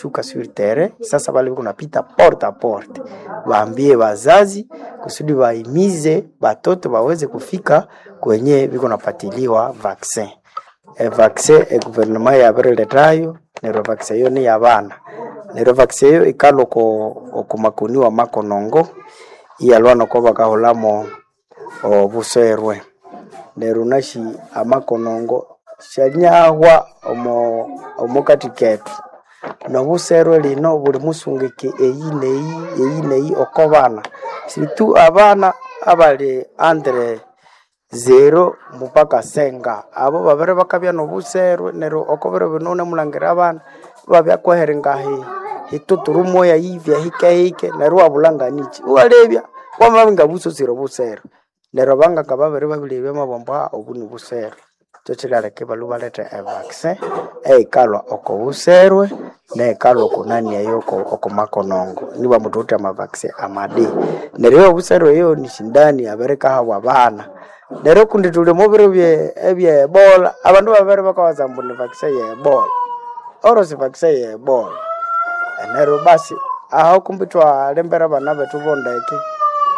Babishuka sur terrain sasa, bale biko napita porte a porte, baambie bazazi kusudi baimize batoto baweze kufika kwenye biko napatiliwa vaccin. E vaccin e gouvernement yabiriletayo neryo vaccin eyo ni yabana, neryo vaccin eyo ikalwa oko makoni wa makonongo iyalwa noko bakahulamo obuserwe. Neryo nashi amakonongo syanyahwa omokati kethu nobuserwe lino buli musungike eyi neyi eyi neyi oko bana situ abana abali entre 0 mpaka senga abo babere bakabya nobuserwe. Neryo oko biro bino wunemulangira abana ibabya hi hituturu moya yibya hikehike neryo iwabulha nganiki iwalebya wamabya ngabusosire obuserwe. Neryo abanganga babere babilebya bamabugha ambu obu nibuserwe. Kyo kiryaleka ibalhwa ibaletha evaccin eyikalhwa oko buserwe neyikalhwa oko nani eyo oko makonongo nibwambu thuwithe amavaccin amadi. Neryo eyobuserwe eyo nisindani yabirikahabwa abana. Neryo kundi thuli omo biro ebye ebola abandu babere bakawaza ambu ni vaccin ye ebola oro si vaccin ye ebola. Neryo basi aho kumbi ithwalembera abana bethu bondeke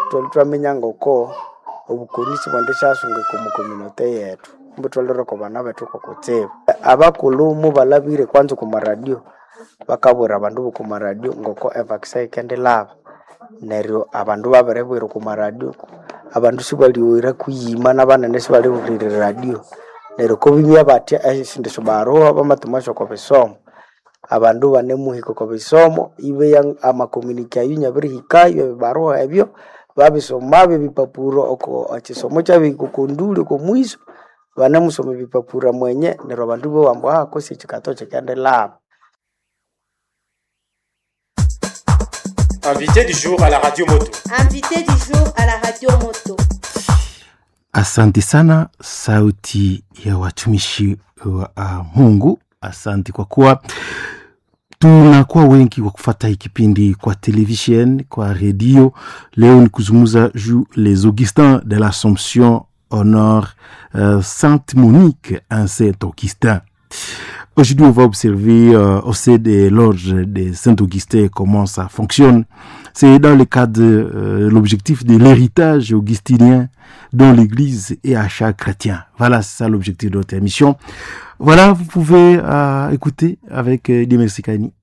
ithwalwa ithwaminya ngoko obukoni sibwendisyasunguka omo community yethu kumbi ithwalhwira oko bana bethu kokutsibu. Abakulhu mubalhabire kwanza okwa radio bakabwira abandu boko radio ngoko evaccin yikendilhaba. Neryo abandu babiribwira okwa radio abandu sibalyoghera kuyima nabanene sibalihulira eradio. Neryo kobimya batya esindi syobaruha bamathumasyo oko bisomo abandu banemuhika oko bisomo ibeya amacommunity ayo inabirihikayo ebibaruha ebyo babisomabyo ebipapuro oko ekisomo kyabihika oko nduli oko mwiso banemusoma ebipapura mwenye neryo abandu ibowa ambu kwesi ekikato kikendilhaba. Invité du jour à la radio moto. Invité du jour à la radio moto. Asante sana sauti ya watumishi wa Mungu. Asante kwa kuwa tunakuwa wengi wa kufata hii kipindi kwa television, kwa redio. Leo ni kuzungumza juu les Augustins de l'Assomption honore Sainte Monique, un Saint Augustin. Aujourd'hui, on va observer au sein de l'ordre de Saint-Augustin comment ça fonctionne. C'est dans le cadre de l'objectif de l'héritage augustinien dont l'Église est à chaque chrétien. Voilà, c'est ça l'objectif de notre émission. Voilà, vous pouvez écouter avec Dieu merci Kani.